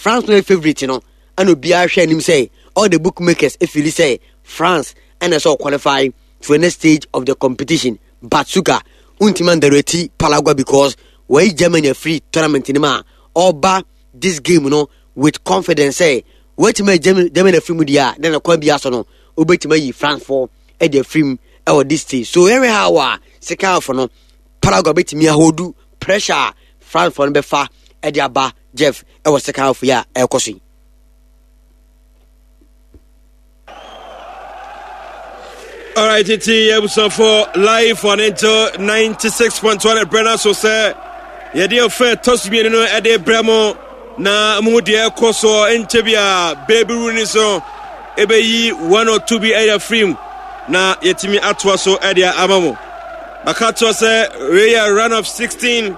France no yɛ favourite no ɛna obiara hwɛ anim sɛ all the bookmakers efili sɛ France ɛna ɛsɛ ɔqualify to the next stage of the competition but suka wontumi underrate Paraguay because wɔyi Germany afiri tournament no mu a ɔba this game no with confidence sɛ wɔatumi ayi Germany afiri mu deɛ a na na kwan bi aso no wobɛtumi ayi France foɔ de afiri mu ɛwɔ this stage so yɛhwɛ how a second half no Paraguay bɛtumi ahodu pressure a France foɔ no bɛfa de aba Jeff ɛwɔ second half yi a ɛrekɔ so yi. Alright, nti abusuafo live on Angel 96.1 ɛbrɛ no so sɛ yɛde ɔfɛ ɛtɔ so mmienu no ɛde brɛ mo na mu deɛ ɛkɔ so nkyɛ bi a baby rooney so ɛbɛyi one or two bi ɛyɛ firim na yɛtumi atoa so ɛde ama mo baka toɔ sɛ wei yɛ run of 16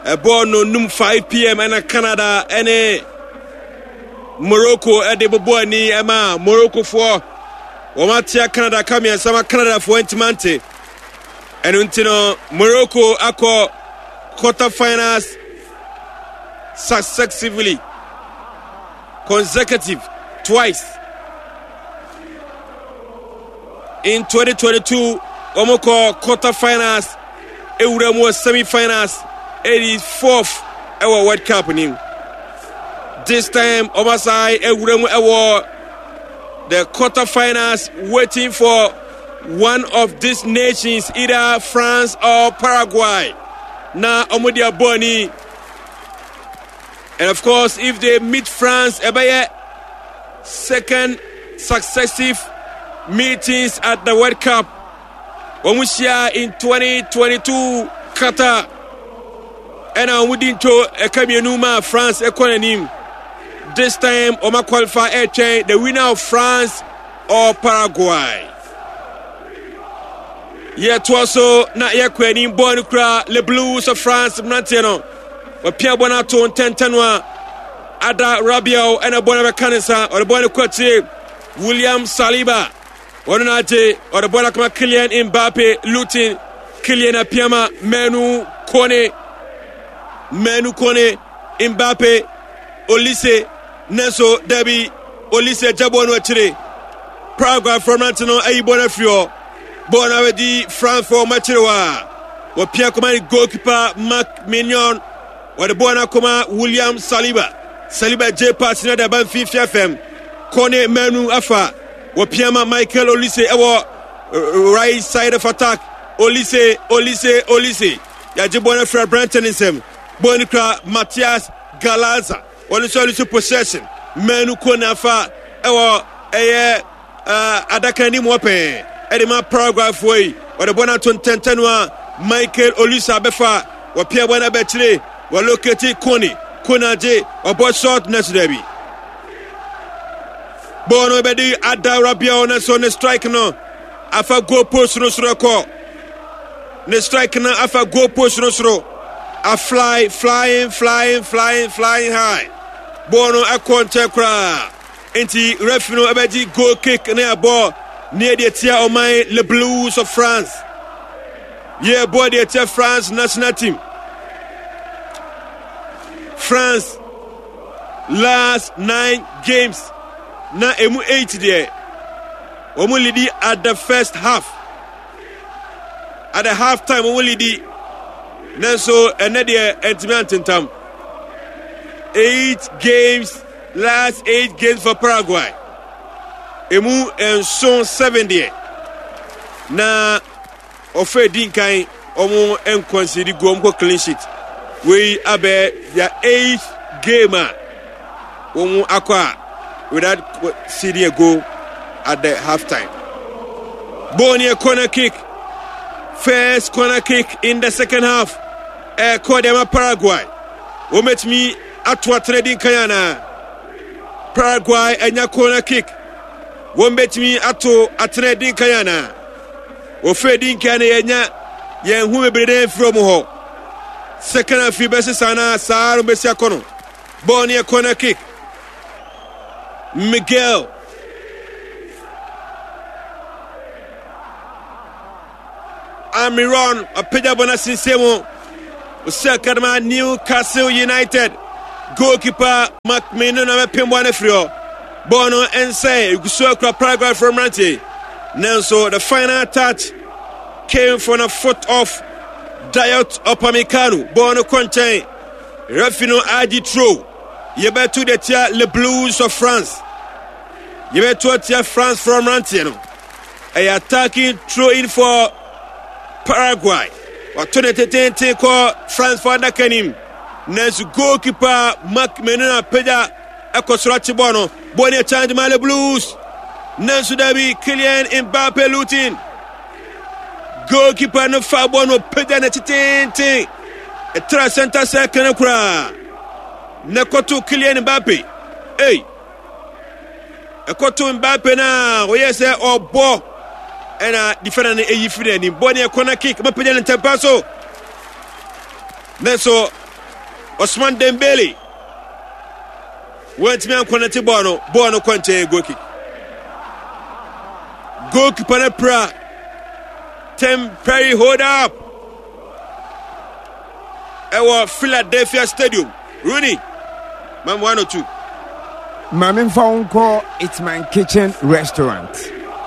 ɛbɔɔ no num 5 pm ɛna Canada ɛne Morocco de bobɔ ani ma Moroccofoɔ. Wɔn atea Canada ka mmiɛnsa ma Canadafoɔ ntoma nte. Ɛno nti no Morocco akɔ quarter finals successively consecutive twice. In 2022 wɔn kɔ quarter finals ewura mu wɔ semi finals ɛdi fourth ɛwɔ World Cup nim. This time wɔn asan ewura mu ɛwɔ the quarter finals waiting for one of these nations either France or Paraguay. Na wɔn de abɔ ani. And of course, if they meet France, ɛbɛyɛ second successive meetings at the World Cup. Wɔn hyia in 2022 Qatar. Ɛna wɔn di nto ɛka mmienu ma France ɛkɔ n'anim. This time wɔn qualify ɛretwɛn the winner of France or Paraguay. Yɛtoa so na yɛkɔ anim bɔɔl no kura Le Blues of France mmeranteɛ no. Wɔpia bɔɔl no ato ntɛntɛn a Ada Rabiel ɛna bɔɔl no bɛka ne nsa ɔde bɔɔl no kɔ akyire William Saliba wɔn na agye ɔde bɔɔl akoma Kylian Mbappe Lutin Kylian apiama Manu Kone Manu Kone Mbappe Olise nanso dabi Olise agya bɔɔl no akyire Paraguay fɔ mmerante no ayi bɔɔl no afiri hɔ bɔɔl no abɛdi France fɔ wɔn akyire hɔ a wɔpia kɔma ne goalkeeper Marc Mignon wɔde bɔɔl no akɔma William Saliba Saliba gye pass no de aba mfimfini fam Kone Manu afa wɔpia ma Michael Olise ɛwɔ right side of attack Olise Olise Olise yɛagye bɔɔl no afiri aberante ne nsam bɔɔl no kura Matias Galaza wɔn nso ɛno nso possession manu ko nafa ɛwɔ ɛyɛ adaka anim hɔ pɛɛ ɛde ma Paraguay foɔ yi wɔde bɔ no ato ntɛntɛn no a Michael Olisa bɛfa wɔpia bɔ no abɛkyire wɔloketi Kone Kone agye ɔbɔ short na so daabi bɔɔl no bɛde Adawra Biao na so ne strike no afa goal post no soro kɔ Ne strike no afa goal post no soro. A fly, flying, flying, flying, flying high. Bɔɔl no ɛkɔ nkyɛn koraa. Nti referee no ɛbɛgye goal kick ne ɛbɔ ne ɛde atia ɔman Le Blues of France. Yɛ bɔ de atia France national team. France last nine games na emu eight deɛ wɔn lidi at the first half. At the half time wɔn lidi nanso ɛnɛ deɛ ɛntumi antentam. Eight games last eight games for Paraguay. Emu nson seven deɛ na ɔfɛ di nkan wɔn nkɔnsidi gu wɔn kɔ clean sheet. Wei abɛ their eighth game a wɔn akɔ a without conceding a goal at the half time. Ball near corner kick. First corner kick in the second half. Ɛkɔ deɛ ma Paraguay. Wɔn bɛtumi ato atena di nkan anaa? Paraguay anya corner kick. Wɔn bɛtumi ato atena di nkan anaa? Wɔfɛ di nkan no yɛnya yɛn ho bebree dɛ mfiri wɔn hɔ. Second half yi bɛsesa anaa saa no bɛsi akɔ no. Ball near corner kick. Miguel. Amiron apagya bɔ no asensɛn mu. Ɔsi akadama Newcastle United. Goalkeeper Mark Menu na bɛpem bɔɔl no afiri hɔ. Bɔɔl no nsɛe, egu so akura Paraguay fo mmeranteɛ. Nanso the final touch came from the foot of Dayot Upamecano. Bɔɔl no kɔ nkyɛn. Referee no agye throw. Yɛbɛto de tia Le Blues of France. Yɛbɛto atia France fo mmeranteɛ no. Ɛyɛ attacking throw in for Paraguay. Wato ne tetenten kɔ France fo adaka nim. Nanso goalkeeper Mark Menuna pagya ɛkɔ soro akye bɔɔl no. Bɔɔl no yɛ chance ma Le Blues. Nanso dabi Kylian Mbappe Lutin. Goalkeeper no fa bɔɔl no pagya ne tetenten. Ɛtra center circle no koraa. Na ɛkɔto Kylian Mbappe. Ei! Ɛkɔto Mbappe no a ɔyɛ sɛ ɔbɔ ɛna defender no eyi firi n'anim. Bɔɔl no yɛ corner kick. Mapagya ne ntɛmpa so. Nanso Osman Dembele wantumi ankɔnɛte bɔɔl no, bɔɔl no kɔ nkyɛn goal kick. Goalkeeper no pira temporary hold up ɛwɔ Philadelphia Stadium. Rooney, mam 102. Ma memfa wo nkɔ It's My Kitchen Restaurant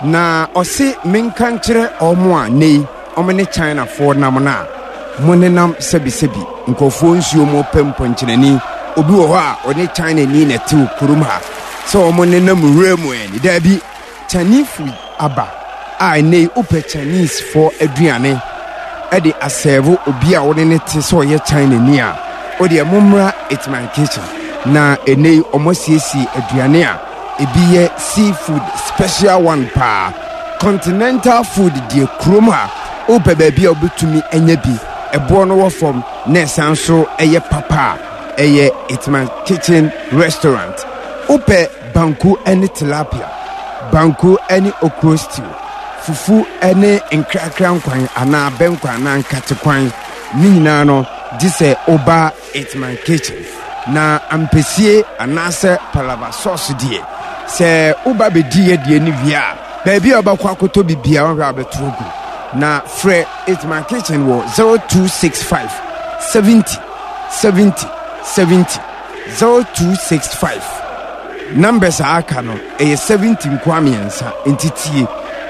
na ɔse menka nkyerɛ ɔmo a nnɛ yi ɔmo ne Chinafoɔ nam no a mo nenam sɛbisɛbi nkurɔfoɔ nsuo mo pɛ mpɔnkyenani obi wɔ hɔ a ɔne Chinani na ɛte wɔ kurom ha sɛ ɔmo nenam wura mu ɛni daabi Chinese food aba a ɛnnɛ yi wopɛ Chinese foɔ aduane de asɛɛvo obi a wone ne te sɛ ɔyɛ China ni a, wodeɛ mommra It's My Kitchen na ɛnnɛ yi wɔn asiesie aduane a ebi yɛ seafood special one paa. Continental food deɛ kurom ha wopɛ baabi a wobɛtumi anya bi, ɛboɔ no wɔ fam na ɛsan so ɛyɛ papa a ɛyɛ It's My Kitchen restaurant. Wopɛ Banku ne tilapia, banku ne okro stew, fufu ne nkrakra nkwan anaa abɛnkwan anaa nkate kwan, ne nyinaa no gye sɛ woba It's My Kitchen. Na ampesie anaasɛ palava sauce deɛ, sɛ woba bɛdi yɛ deɛ no wie a, baabi a wobɛkɔ akɔtɔ biribiara wohwɛ a wobɛto agu. Na frɛ It's My Kitchen wɔ 0265 70 70 70. 0265 Numbers a aka no ɛyɛ 70 nkoa mmiɛnsa nti tie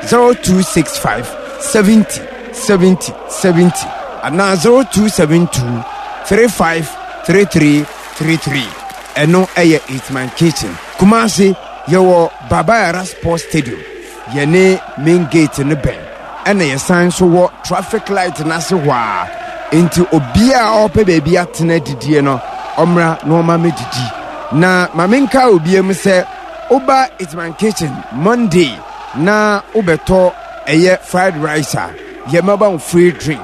0265 70 70 70 anaa 0272 35 33 33 ɛno ɛyɛ Eatman Kitchen Kumasi yɛwɔ Baba Yara Sports Stadium Yɛne main gate no bɛn, ɛna yɛsan nso wɔ traffic light no ase hɔ ara. Enti obiara a ɔrepɛ baabi atena adidie no, ɔmmra na ɔma mɛdidi. Na ma menka obiara mu sɛ, woba Eatman Kitchen Monday na wobɛtɔ ɛyɛ fried rice a, yɛmɛba wo free drink.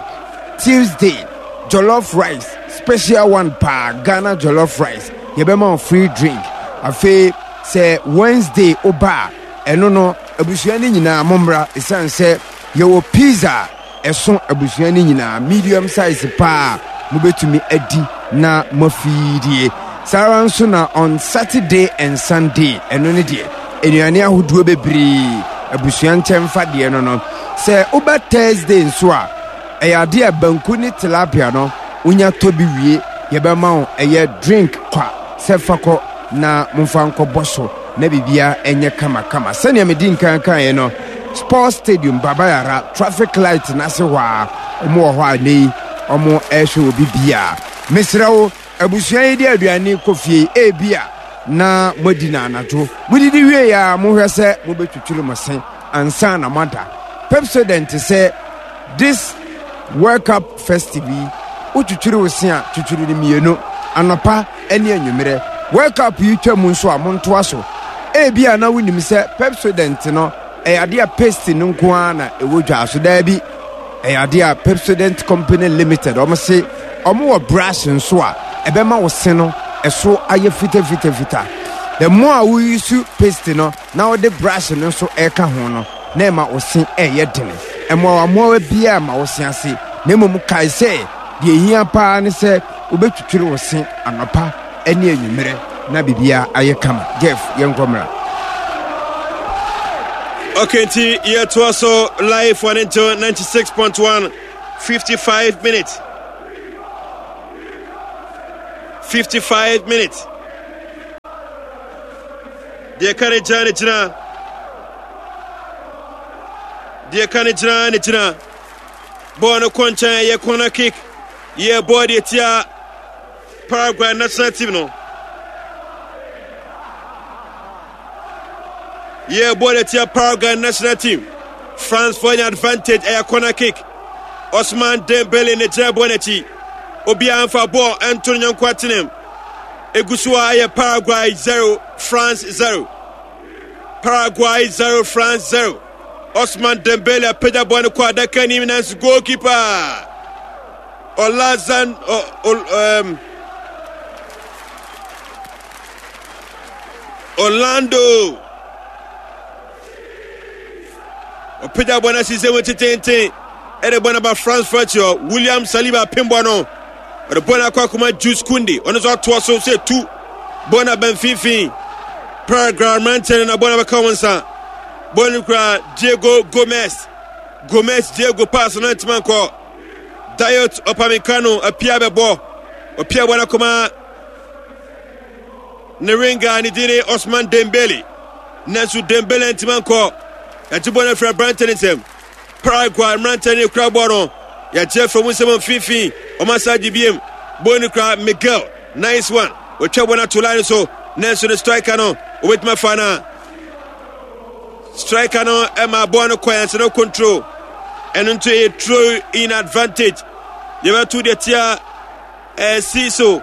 Tuesday, jollof rice, special one paa, Ghana jollof rice, yɛbɛma wo free drink. Afei sɛ Wednesday woba a, Ɛno no, abusua no nyinaa mommra, ɛsiane sɛ yɛwɔ pizza a ɛso abusua no nyinaa, medium size paa a mobɛtumi adi na moafiidie. Saa ara nso na on Saturday and Sunday, ɛno ne deɛ, nnuane ahodoɔ bebree, abusua nkyɛmfa deɛ no no. Sɛ woba Thursday nso a, ɛyɛ adeɛ a banku ne tilapia no, wonya tɔ bi wie, yɛbɛma wo ɛyɛ drink kwa sɛ fa kɔ na momfa nkɔbɔ so na biribiara nyɛ kamakama. Sɛnea medi nkan kaeɛ no, Sports Stadium, Baba Yara, traffic light no ase hɔ a, wɔn wɔ hɔ a nnɛ yi wɔn rehwɛ obi biara. Mesrɛ wo, abusua yi de aduane kɔ fie ebia na moadi no anadwo. Modidi wie a, mohwɛ sɛ mobɛtwitwiri mo se ansa na moada. Pepsodent sɛ this World Cup festive yi, wotwitwiri wo se a, twitwiri no mmienu, anɔpa ne anwummerɛ. World Cup yi twa mu nso a, montoa so. Ebia na wonim sɛ Pepsodent no, ɛyɛ adeɛ a paste no nko ara na ɛwɔ dwa so. Daabi, ɛyɛ adeɛ a Pepsodent Company Limited, wɔn se wɔn wɔ brush nso a ɛbɛma wo se no ɛso ayɛ fitafitafita. The more a woyi su paste no, na wode brush no nso reka ho no, na ɛma wo se reyɛ dene. Mmoawammoawa biara mma wo se ase, na mmom kae sɛ deɛ ehia paa ne sɛ wobɛtwitwiri wo se anɔpa ne anwummerɛ na biribiara ayɛ kama. Jeff, yɛnkɔ mmra. Okay, nti yɛtoa so live on until 96.1 55 minutes. 55 minutes. Deɛ ka ne gyina ne gyina. Deɛ ka ne gyina ne gyina. Bɔɔl no kɔ nkyɛn ɛyɛ corner kick. Yɛ bɔɔl deɛ tia Paraguay national team no. Yɛ bɔɔl deɛ tia Paraguay national team. France for an advantage ɛyɛ corner kick. Osman Dembele ne gyina bɔɔl n'akyi. Obiara nfa bɔɔl ɛnto ne nyɔnko atenem. Egu so a ɛyɛ Paraguay 0 France 0. Paraguay 0 France 0. Osman Dembele apagya bɔɔl no kɔ adaka anim nanso goalkeeper Olazan o, o, um, Orlando ɔpagya bɔɔl no asi sɛ mu tetenten ɛde bɔɔl no aba France fo akyi hɔ. William Saliba apem bɔɔl no ɔde bɔɔl no akɔ akɔma Jules Kounde ɔno nso atoa so sɛ tu bɔɔl no aba mfimfini. Paraguay mmeranteɛ no na bɔɔl no bɛka wɔn nsa. Bɔɔl no kura Diego Gomez. Gomez Diego pass no ntoma nkɔ. Dayot Upamecano apia bɛbɔ. Ɔpia bɔɔl no akɔma ne winger ne din ne Osman Dembele. Nanso Dembele ntoma nkɔ. Yɛagye bɔɔl no afiri aberante no nsam. Paraguay mmeranteɛ no kura bɔɔl no. Yɛagye afiri wɔn nsam mfimfini. Wɔn asa agye biem. Bɔɔl no kura Miguel. Nice one. Wɔtwa bɔɔl no ato line so. Nanso ne striker no, wɔbɛtumi afa no a. Striker no ma bɔɔl no kɔ yɛn no control. Ɛno nso yɛ throw in advantage. Yɛbɛto deɛ tia ɛsi so.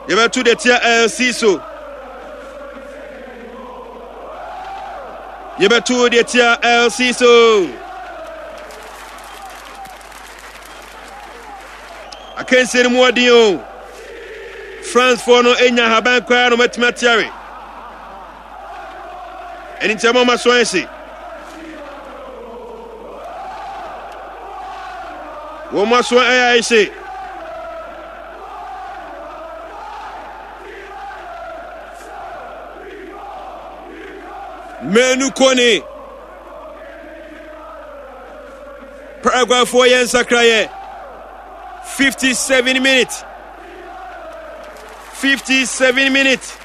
Yɛbɛto deɛ tia ɛsi so. Yɛbɛto deɛ tia LC so. Akansie no mu ɔden o. Francefoɔ no nya ahaban koraa na wɔatumi ateare. Ɛne nti ɛma ɔma so ayɛ hye. Wɔn aso ayɛ ayɛ hye. Manu Kone. Paraguayfoɔ yɛ nsakraeɛ. 57 minutes. 57 minutes.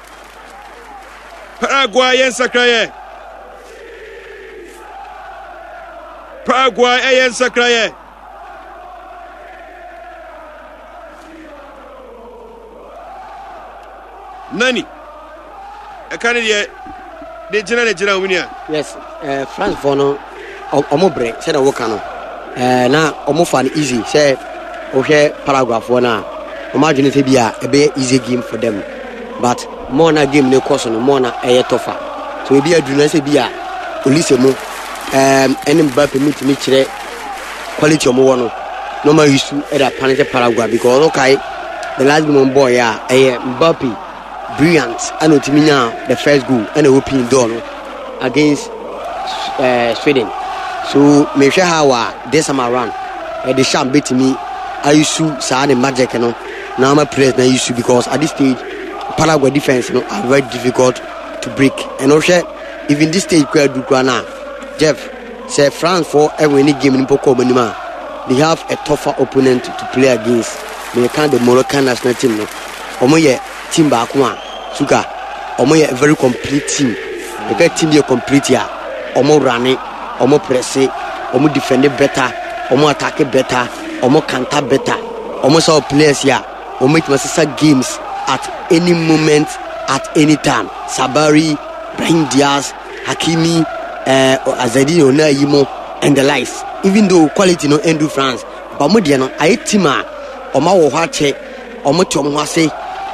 Paraguay yɛ nsakraeɛ. Paraguay ɛyɛ nsakraeɛ. Nani ɛka ne deɛ de gyina ne gyina wɔn nua. Yes, eh, France foɔ no ɔmo brɛ sɛdeɛ woka no eh, na ɔmo fa no easy sɛ wohwɛ Paraguay foɔ no a ɔmo adwene sɛ bi a ɛbɛyɛ easy game for them but more na game no kɔ so no more na ɛyɛ tɔfa so ebi aduru na sɛ bi a Olise mu ɛne Mbappe mu tumi kyerɛ quality ɔmo wɔ no na ɔmo ayi su ɛde apane sɛ Paraguay because ɔno kae the last game ɔmo bɔɔ yɛ a ɛyɛ Mbappe brilliant ɛna otumi nya the first goal ɛna open door no against uh, Sweden so mehwɛ how a this time around ɛde sham betumi ayi su saa ne magic no na ama players na ayi su because at this stage Paraguay defense no are very difficult to break and ɔhwɛ even this stage kura du kura na Jeff Sɛ France foɔ winne game no mpo kɔ wɔn anim a, they have a tougher opponent to play against. Meka the Moroccan national team no, wɔn yɛ team baako a suka wɔn yɛ very complete team. Meka team yɛ complete a, wɔn rane, wɔn presse, wɔn defend better, wɔn attack better, wɔn counter better. Wɔn sɛ players a wɔn bɛtumi asesa games at any moment at any time. Sabari, Brahim Diaz. Hakimi, eh, Azadi Onayi mo and the likes. Even though quality no ɛndu France, but ɔmo deɛ no ayɛ team a ɔmo awɔ hɔ akyɛ, ɔmo te ɔmo ho ase.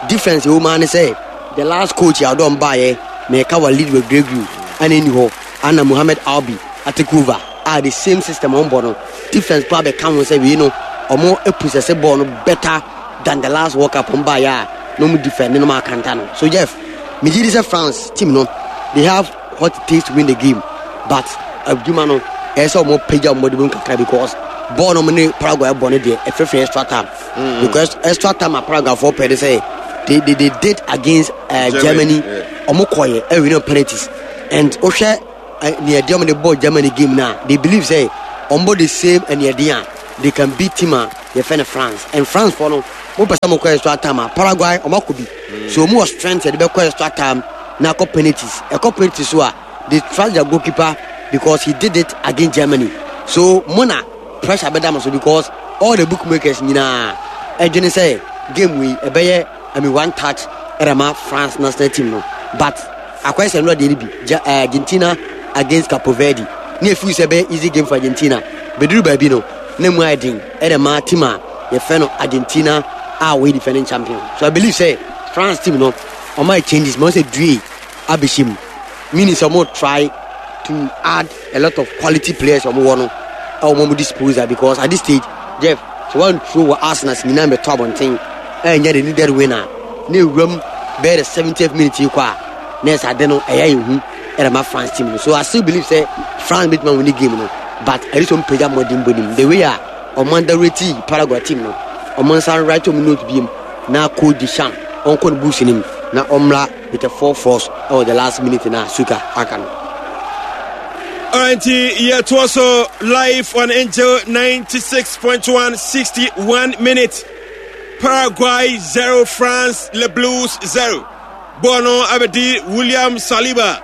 Difference ɛwɔ mu ara ne sɛ the last coach a ɔde ɔmo baayɛ, mɛka Walid Regragui ɛna ɛni hɔ, ana Mohamed Albi atake over a the same system ɔmo bɔ no, difference paa bɛka ho sɛ wei no ɔmo possess ball no better than the last World Cup ɔmo baayɛ a na ɔmo defend no ɔmo akanta no. So Jeff, Megye di sɛ France team no they have what it takes to win the game but adwuma no ɛyɛ sɛ wɔn pagya wɔn bɔde mu kakra because bɔɔl no wɔn ne Paraguay bɔ no deɛ ɛfrɛfrɛ extra time mm. because extra time a Paraguay fo pɛ de sɛ they they they did against uh, Germany wɔn kɔɛ ɛwin no penalties and wohwɛ nea ɛdeɛ wɔn de bɔ Germany game na they believe sɛ wɔn bɔ the same ɛnea ɛdeɛ a they can beat team a. yɛfɛ no France. And France foɔ no, mo pɛ sɛ mo kɔ extra time a, Paraguay ɔmo akɔ bi. So ɔmo wɔ strength yɛde bɛkɔ extra time na akɔ penalties. Ɛkɔ penalties so a, they trust their goalkeeper because he did it against Germany. So mo na pressure bɛda mo so because all the bookmakers nyinaa ɛdwene sɛ game wei ɛbɛyɛ I mean one touch ɛde ma France national team no but akɔyɛ sɛ nnora deɛ no bi ja, eh, Argentina against Capo Verde ne ɛfiri sɛ ɛbɛyɛ easy game for Argentina bɛduru baabi no na mu ayɛ den ɛde ma team a yɛfrɛ no Argentina a wɔyɛ defending champion. So I believe sɛ France team no ɔma yɛ changes ma sɛ due abɛhyɛ mu meaning sɛ ɔmo try to add a lot of quality players ɔmo wɔ no ɛwɔ ɔmo disposal because at this stage Jeff sɛ wɔn throw wɔ Arsenal sɛ nyinaa mbɛtɔ abɔnten ɛnyɛ the needed win a na ewuram bɛyɛ the 70th minute yi kɔ a na ɛsɛ ade no ɛyɛ ehu ɛde ma France team no. So I still believe sɛ France bɛtumi awin game no but ɛde sɛ ɔmo pagya mmɔden bɔ nim the way a ɔmo underrate Paraguay team no ɔmo nsa write ɔmo note biem na coach Deschamps ɔnkɔ ne books nim na ɔmmra with a full force ɛwɔ the last minute na Suka aka no. Alright, yɛtoa so live on Angel 96.1 61 minutes. Paraguay 0 France Le Blues 0. Bɔɔl no abɛdi William Saliba.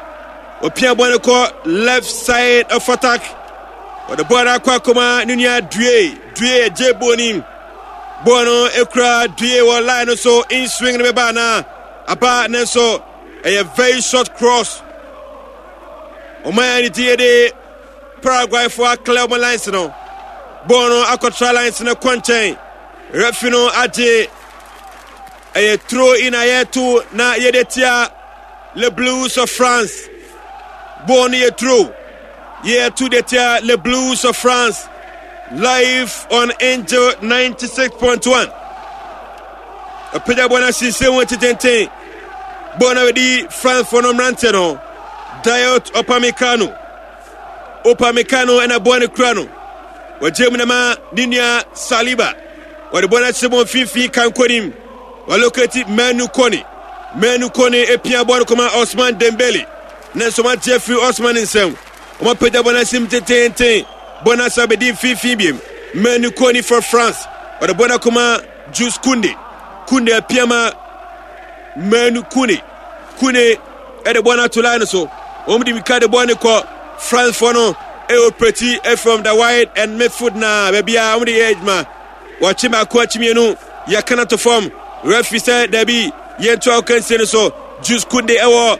Ɔpia bɔɔl no kɔ left side of attack. Ɔde bɔɔl no akɔ akɔma ne nua Due. Due agye bɔɔl nim. Bɔɔl no ekura Due wɔ line no so. In swing no bɛba anaa? Aba ne nso ɛyɛ very short cross. Ɔman ne ti yɛ de Paraguayfoɔ aklɛ wɔn lines no. Bɔɔl no akɔtra lines no kɔ nkyɛn. Referee no agye ɛyɛ throw in a yɛto na yɛde tia Le Blues of France. Bɔɔl no yɛ throw. Yɛto de tia Le Blues of France. Live on Angel 96.1. Apagya bɔɔl no ahyensɛn mu tententen. Bɔɔl no abɛdi France foɔ no mmeranteɛ no. Dayot Upamecano. Upamecano ɛna bɔɔl no kura no. Wɔgye mu na ma ne nua Saliba. Wɔde bɔɔl no ahyɛ mu mfimfini kankonim. Wɔlokati Manu Kone. Manu Kone epia bɔɔl no kɔma Osman Dembele. Ne nso wɔagye afiri Osman nsam. Wɔapagya bɔɔl no ahyɛ mu tententen. Bɔɔl no asa abɛdi mfimfini biem. Manu Kone for France. Wɔde bɔɔl no akɔma Jules Kounde. Kounde apia ma Manu Kone. Kone ɛde bɔɔl no ato line no so. Wɔn de mika de bɔɔl no kɔ France foɔ no ɛoperate from the wide and midfield na baabi a wɔn de yɛ adwuma. Wɔakye baako akye mmienu yɛka no to fam. Referee sɛ dabi yɛnto akansie no so. Jules Kounde ɛwɔ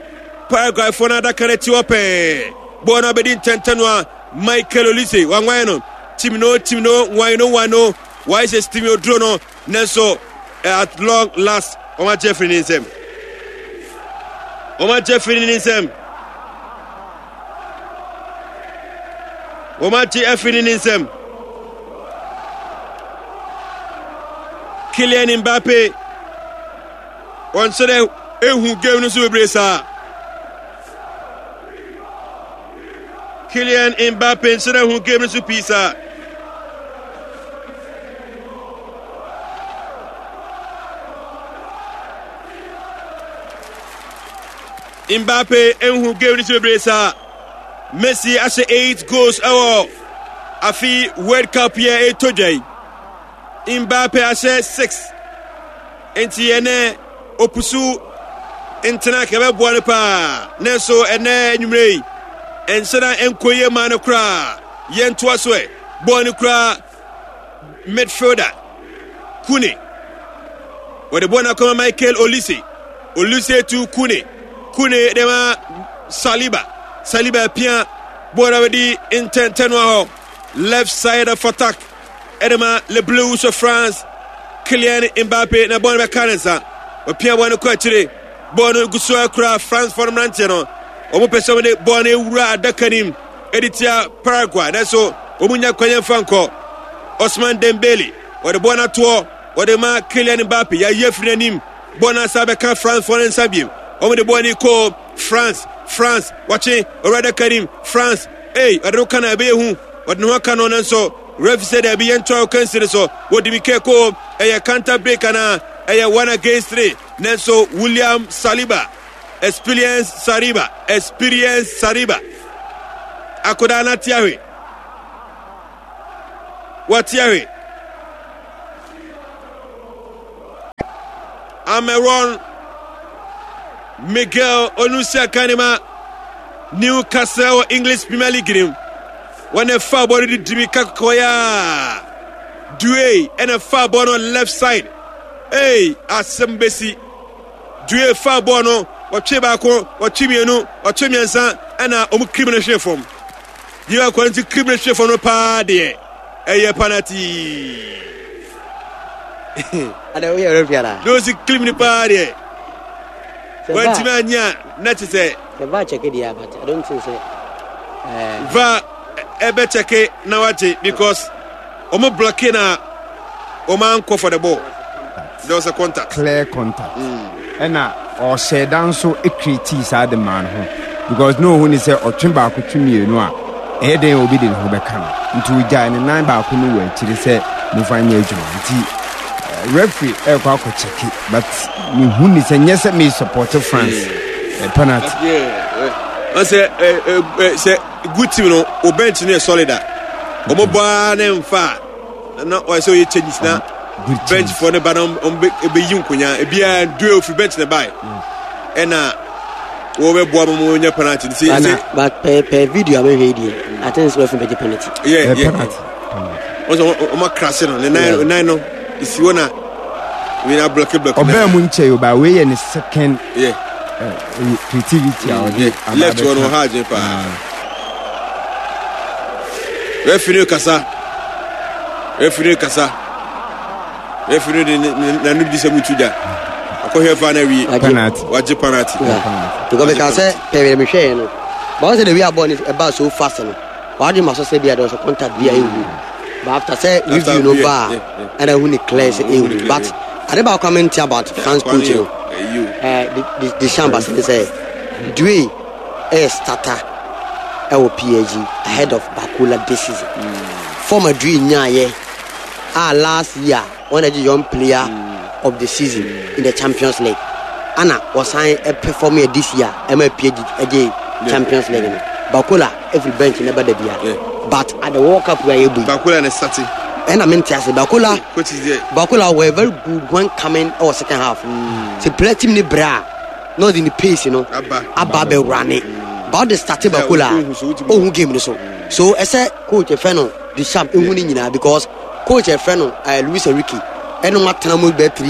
Paraguay foɔ no adaka no akyi hɔ pɛɛ. Bɔɔl no abɛdi ntɛntɛn no a Michael Olise wanwan no. Tim no tim no wan no wan no. Wayɛ sɛ Steven Oduro no nanso at long last wɔn agye afiri ne nsam. Wɔn agye afiri ne nsam. Wɔn agye afiri ne nsam. Kylian Mbappe wɔn nso dɛ ehu game no so bebree saa. Kylian Mbappe nso dɛ hu game no so pii saa. Mbappe nhu game no so bebree saa. Messi ahyɛ 8 goals ɛwɔ afi World Cup yɛ ɛtɔ dwa yi. Mbappe ahyɛ 6. Nti ɛnɛ opusu ntena ka ɛbɛboa no paa. Nanso ɛnɛ anwummerɛ yi ɛnhyɛ da nkɔ yie maa no koraa. Yɛntoa so ɛ. Bɔɔl no kura midfielder Kune. Wɔde bɔɔl no akɔma Michael Olise. Olise to Kune. Kune de ma Saliba. Saliba pia bɔɔl no abɛdi ntɛntɛnoa hɔ. Left side of attack. Ɛde ma Le Blues of France. Kylian Mbappe na bɔɔl no bɛka ne nsa. Ɔpia bɔɔl no kɔ akyire. Bɔɔl no gu so akura France fɔ no mmeranteɛ no. Wɔn pɛ sɛ wɔde bɔɔl no ewura adaka nim ɛde tia Paraguay. Nanso wɔn nya kwan yɛn fa nkɔ. Osman Dembele wɔde bɔɔl no atoɔ wɔde ma Kylian Mbappe. Yɛayi afiri n'anim. Bɔɔl no asa bɛka France fɔ no nsa biem. Wɔn de bɔɔl no kɔ France. France wɔkye owura adaka nim. France ei ɔde no ka na ɛbɛyɛ hu. Wɔde ne ho aka no nanso referee sɛ daabi yɛntoa ɔkansi no so. Wɔdi mi kɛ ko ɛyɛ counter break anaa ɛyɛ one against three. Nanso William Saliba experience Saliba experience Saliba akodaa no ate ahwe. Wate ahwe. Ameron Miguel Onusia Kanema Newcastle wɔ English Premier League nim. Wɔn ɛfa bɔ no de dimi kakɔya. Due ɛna fa bɔ no left side. Hey, asɛm besi. Due fa bɔ no, wɔtwe baako, wɔtwe mmienu, wɔtwe mmiɛnsa, ɛna wɔn kirim no hwe fam. Yi akwa nti kirim no hwe fam no paa deɛ, ɛyɛ penalty. Ada woyɛ referee ana? Na osi kirim no paa deɛ. Wɔntumi anya na te sɛ. Sɛ va check deɛ but I don't think sɛ. Eh. Va ɛbɛ check na wagye because wɔn blocking na wɔn ankɔ for the ball. There was a contact. Clear contact. Ɛna ɔhyɛɛ da nso creatii saa de maa ne ho because na ɔhu ne sɛ ɔtwe baako twe mmienu a ɛyɛ dɛn a obi de ne ho bɛka no nti ɔgyae ne nan baako no wɔ akyiri sɛ momfa nyɛ adwuma nti eh, referee ɛrekɔ akɔ kyɛke but mehu ne sɛ nyɛ sɛ me support France eh, penalty. Ɔsɛ sɛ good team no o bench no yɛ solid a wɔn bɔ ara ne nfa a na ɔyɛ sɛ ɔyɛ changes na bench foɔ ne ba na wɔn bɛ yi nkonya ebiara due ofiri bench na bae ɛna wɔn bɛ boa ma wɔn nya penalty nti ɛsɛ. But pɛ pɛ video a mehwɛ yi deɛ I think sɛ wɔfiri bɛgye penalty. Yeah yeah wɔn sɛ wɔn akrase no ne nan nan no esi hɔ na wei na blɔki blɔki. Ɔbɛn mu nkyɛn o ba wei yɛ ne second. Yeah. Creativity a ɔde aba left wɔ no ɔha adwene paa. Referee no kasa. Referee no kasa. Referee no de n'ano di sɛ mutu gya. Akɔhwɛ fa na wie. Penalty. Wagye penalty. Because meka sɛ pɛrɛ mehwɛɛ no. But wɔn sɛ the way a bɔɔl no ɛbaa so fast no. Wɔadwene ma so sɛ bi a there was a contact bi a ehu. But after sɛ review no ba a ɛna ehu ne clear sɛ ehu. But ade baako a mente about France coach no. Ɛɛ Deschamps ne sɛ Dwayne ɛyɛ starter ɛwɔ PSG ahead of Barcola this season. Form a Dwayne nyaayɛ a last year wɔn agye young player of the season in the Champions League. Ana wɔsan perform yɛ this year ɛma PSG ɛgye Champions League no. Barcola every bench never da bia. But at the World Cup where you Barcola ne sati. Ɛna mente ase Barcola Barcola were very good when coming ɛwɔ second half. Sɛ player team ne bra na ɔde ne pace no aba abɛwura ne ba ɔde starte Barcola a ɔhu game no so so ɛsɛ coach ɛfɛ no Deschamps ehu ne nyinaa because coach ɛfɛ no Luis Enrique ɛna wɔn atena mu bɛɛ three.